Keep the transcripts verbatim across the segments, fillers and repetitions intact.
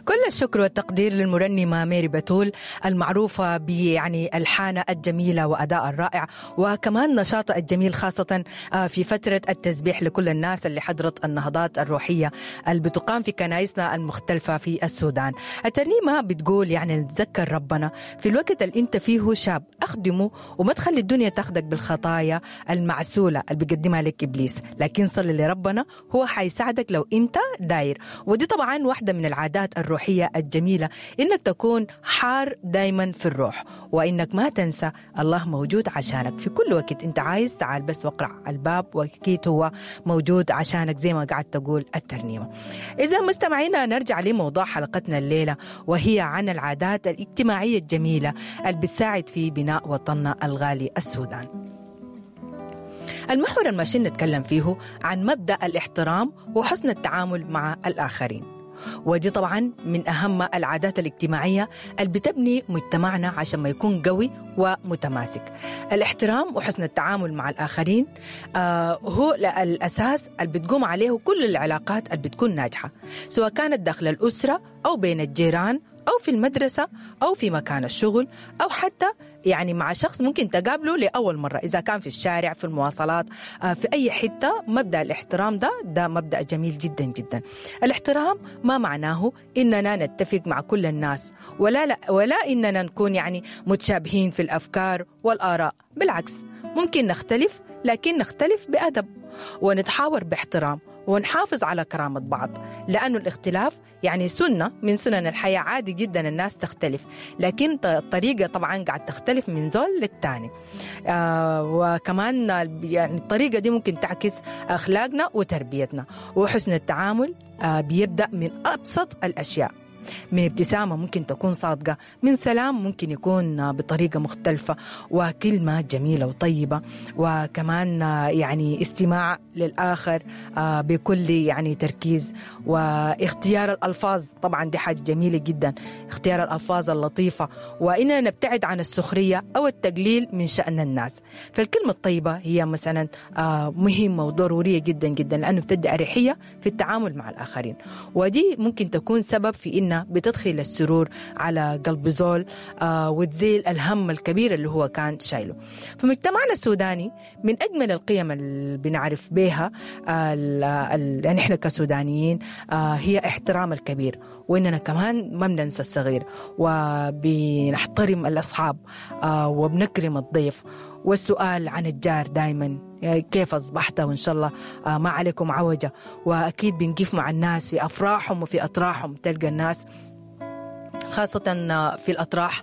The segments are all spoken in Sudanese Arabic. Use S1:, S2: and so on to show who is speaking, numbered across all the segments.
S1: كل الشكر والتقدير للمرنمة ميري بتول المعروفة بيعني ألحانها الجميلة وأداء الرائع، وكمان نشاطها الجميل خاصة في فترة التسبيح لكل الناس اللي حضرت النهضات الروحية اللي بتقام في كنايسنا المختلفة في السودان. الترنيمة بتقول يعني نتذكر ربنا في الوقت اللي انت فيه شاب، اخدمه وما تخلي الدنيا تاخدك بالخطايا المعسولة اللي بيقدمها لك إبليس، لكن صلي لربنا هو حيساعدك لو انت داير. ودي طبعا واحدة من العادات الروحية الجميلة، إنك تكون حار دايما في الروح، وإنك ما تنسى الله موجود عشانك في كل وقت انت عايز تعال بس واقرع الباب، وأكيد هو موجود عشانك زي ما قاعد تقول الترنيمة. إذا مستمعينا نرجع لموضوع حلقتنا الليلة، وهي عن العادات الاجتماعية الجميلة اللي بتساعد في بناء وطننا الغالي السودان. المحور الماشي نتكلم فيه عن مبدأ الاحترام وحسن التعامل مع الآخرين، ودي طبعا من أهم العادات الاجتماعية اللي بتبني مجتمعنا عشان ما يكون قوي ومتماسك. الاحترام وحسن التعامل مع الآخرين آه هو الأساس اللي بتقوم عليه كل العلاقات اللي بتكون ناجحة، سواء كانت داخل الأسرة أو بين الجيران أو في المدرسة أو في مكان الشغل، أو حتى يعني مع شخص ممكن تقابله لأول مرة، إذا كان في الشارع، في المواصلات، في أي حتة. مبدأ الاحترام ده ده مبدأ جميل جدا جدا. الاحترام ما معناه إننا نتفق مع كل الناس، ولا لا ولا إننا نكون يعني متشابهين في الأفكار والآراء، بالعكس ممكن نختلف، لكن نختلف بأدب ونتحاور باحترام ونحافظ على كرامة بعض، لأنه الاختلاف يعني سنة من سنن الحياة، عادي جدا الناس تختلف، لكن الطريقة طبعا قاعد تختلف من زول للتاني. آه وكمان يعني الطريقة دي ممكن تعكس أخلاقنا وتربيتنا. وحسن التعامل آه بيبدأ من أبسط الأشياء، من ابتسامة ممكن تكون صادقة، من سلام ممكن يكون بطريقة مختلفة، وكلمة جميلة وطيبة، وكمان يعني استماع للآخر بكل يعني تركيز، واختيار الألفاظ طبعا دي حاجة جميلة جدا، اختيار الألفاظ اللطيفة، وإننا نبتعد عن السخرية أو التقليل من شأن الناس. فالكلمة الطيبة هي مثلا مهمة وضرورية جدا جدا، لأنه بتدي أريحية في التعامل مع الآخرين، ودي ممكن تكون سبب في إن بتدخل السرور على قلب زول آه وتزيل الهم الكبير اللي هو كان شايله. فمجتمعنا السوداني من أجمل القيم اللي بنعرف بها آه يعني إحنا كسودانيين آه هي احترام الكبير، وإننا كمان ما بننسى الصغير، وبنحترم الأصحاب آه وبنكرم الضيف، والسؤال عن الجار دايما كيف أصبحت، وإن شاء الله ما عليكم عوجة. وأكيد بنقف مع الناس في أفراحهم وفي أطراحهم، تلقى الناس خاصة في الأطراح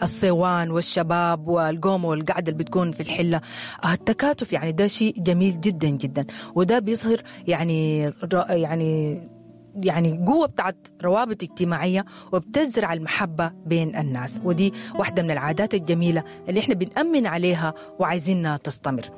S1: الصوان والشباب والقومة والقعدة اللي بتكون في الحلة، التكاتف يعني ده شيء جميل جدا جدا، وده بيظهر يعني يعني يعني قوة بتاعت روابط اجتماعية، وبتزرع المحبة بين الناس. ودي واحدة من العادات الجميلة اللي احنا بنأمن عليها وعايزينها تستمر.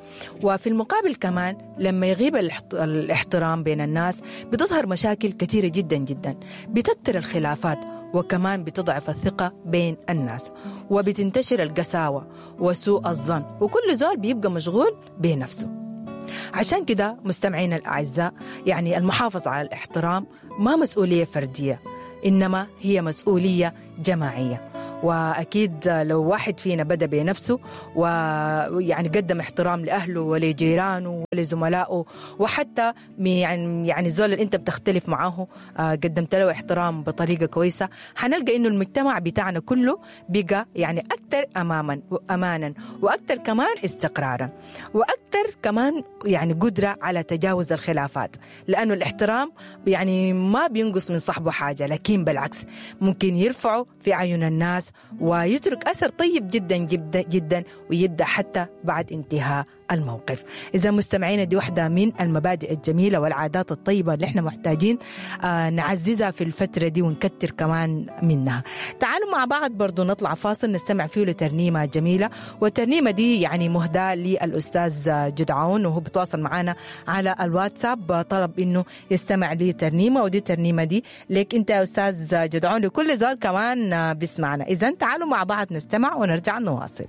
S1: وفي المقابل كمان لما يغيب الاحترام بين الناس بتظهر مشاكل كثيرة جدا جدا، بتكتر الخلافات، وكمان بتضعف الثقة بين الناس، وبتنتشر القساوة وسوء الظن، وكل زول بيبقى مشغول بنفسه. عشان كده مستمعينا الأعزاء، يعني المحافظة على الاحترام ما مسؤولية فردية، إنما هي مسؤولية جماعية. وأكيد لو واحد فينا بدأ بنفسه ويعني قدم احترام لأهله ولجيرانه ولزملائه، وحتى يعني يعني الزول اللي أنت بتختلف معاه قدمت له احترام بطريقة كويسة، حنلقى إنه المجتمع بتاعنا كله بقى يعني أكثر أماما أمانا، وأكثر كمان استقرارا، وأكثر كمان يعني قدرة على تجاوز الخلافات، لأنه الاحترام يعني ما بينقص من صاحبه حاجة، لكن بالعكس ممكن يرفعه في عيون الناس ويترك أثر طيب جدا جدا جدا، ويبدأ حتى بعد انتهاء الموقف. إذا مستمعينا دي واحدة من المبادئ الجميلة والعادات الطيبة اللي احنا محتاجين آه نعززها في الفترة دي ونكتر كمان منها. تعالوا مع بعض برضو نطلع فاصل نستمع فيه لترنيمة جميلة، والترنيمة دي يعني مهداة للأستاذ جدعون، وهو بتواصل معنا على الواتساب طلب إنه يستمع لترنيمة، ودي الترنيمة دي لك أنت يا أستاذ جدعون، لكل زول كمان بيسمعنا. إذا تعالوا مع بعض نستمع ونرجع نواصل.